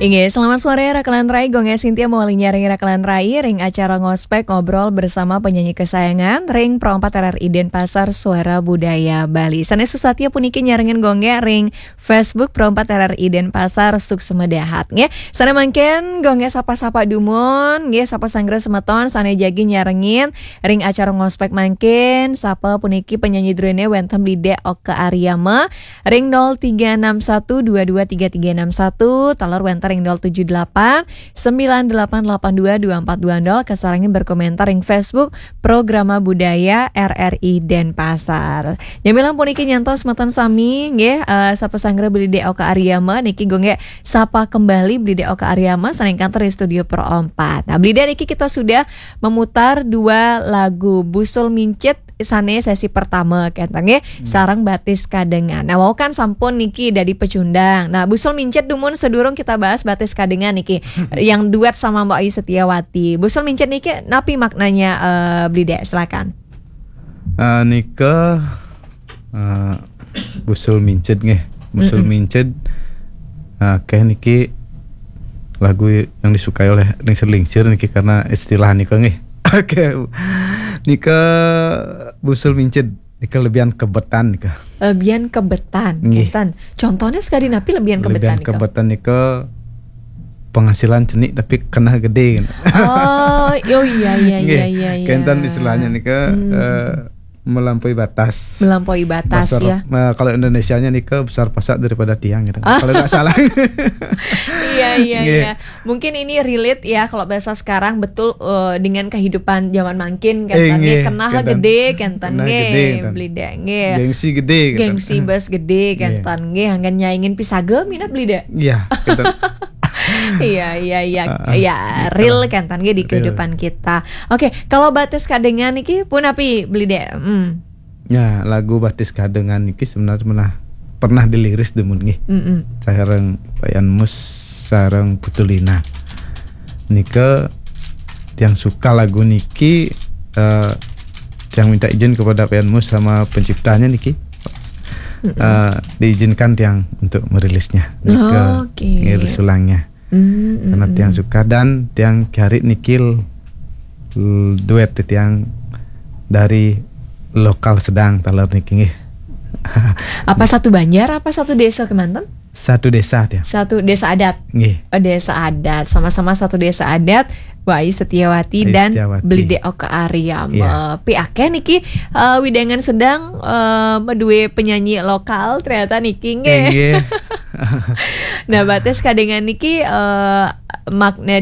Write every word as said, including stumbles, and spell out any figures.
Inggih, selamat sore Rakelan Rai, Gung Sintia mawali nyaring Rakelan Rai ring acara Ngospek, ngobrol bersama penyanyi kesayangan ring Pro empat R R I Denpasar, Suara Budaya Bali. Sané susatia puniki nyarengin Gung ring Facebook Pro empat R R I Denpasar, suksma dahat nggih. Sané mangkin Gung sapa-sapa dumun nggih, sapa sanggra semeton sané jagi nyarengin ring acara Ngospek mangkin, sapa puniki penyanyi druéné, wénten Bli Dék Oka Ariama, ring nol tiga enam satu dua dua tiga tiga enam satu, taler wénten ring nol tujuh delapan sembilan delapan delapan dua dua empat dua nol, kasarengin berkomentar ring Facebook Programa Budaya R R I Denpasar. Nyamilang puniki nyantos semeton sami nggih, eh, sapa sanggra Bli Dék Oka Ariama niki Gung sapa kembali Bli Dék Oka Ariama sané kantor di Studio Pro empat. Nah, Bli Dék, niki kita sudah memutar dua lagu, Busul Mincit sané sesi pertama kénten nggih, sareng Batis Kadengan. Nah, wau kan sampun niki dadi pecundang. Nah, Busul Mincit dumun sadurung kita bahas Batis Kadengan niki yang duet sama Mbok Ayu Setiawati. Busul Mincit niki napi maknanya, eh, Bli Dék? Silakan. Eh, nika, eh, Busul Mincit nggih. Busul Mincit, eh, akéh niki lagu yang disukai oleh lingsir-lingsir niki karena istilah nika nggih. Oke. Nika Busul Mincit nika lebihan kebetan nika. Lebihan kebetan, nggih. Kénten. Contohnya sekali napi lebihan kebetan nika? Lebihan kebetan nika penghasilan cenik tapi keneh gedé. Oh, oh iya, iya, nggih, iya, iya, iya. Kénten istilahnya nika, eh, melampaui batas. Melampaui batas, besar, ya. Eh, kalau Indonesianya nika besar pasak daripada tiang gitu. Ah. Kalau nggak salah. Iya, iya, nggih, iya. Mungkin ini relate ya, kalau bahasa sekarang, betul, eh, dengan kehidupan zaman mangkin kan, eh, nggih, keneh gedé kan, keneh gedé kan. Bli Dék nggih. Gengsi gedé kan. Gengsi bas gedé kan, nggih, anggon nyaingin pisaga minab Bli Dék. Iya, gitu. Iya, iya, iya. Ah, ah, ya, gitu. Real kan, nggih, di kehidupan kita. Oke, kalau Batis Kadengan niki pun napi Bli Dék? Hmm. Ya, lagu Batis Kadengan niki sebenarnya pernah, pernah diliris dumun nggih. Mm-mm. Sareng Pak Yan Mus, sareng Putu Lina. Nika tiang suka lagu niki, eh, tiang minta izin kepada Pak Yan Mus sama penciptanya niki. Mm-mm. Eh, diizinkan tiang untuk merilisnya. Nika, oke, ngiris ulangnya. Hmm, karena, hmm, tiang suka dan tiang cari niki, l-, duet tiang dari lokal Sedang taler niki nggih. Apa satu banjar, apa satu desa kémanten? Satu desa tiang. Satu desa adat. Nggih. Oh, desa adat. Sama-sama satu desa adat. Mbok Ayu Setiawati dan Bli Dék Oka Ariama. Iya. Pi akéh niki, eh, wewidangan Sedang, eh, madué penyanyi lokal ternyata niki nggih. Nggih. Nah, Batis Kadengan niki, eh, makna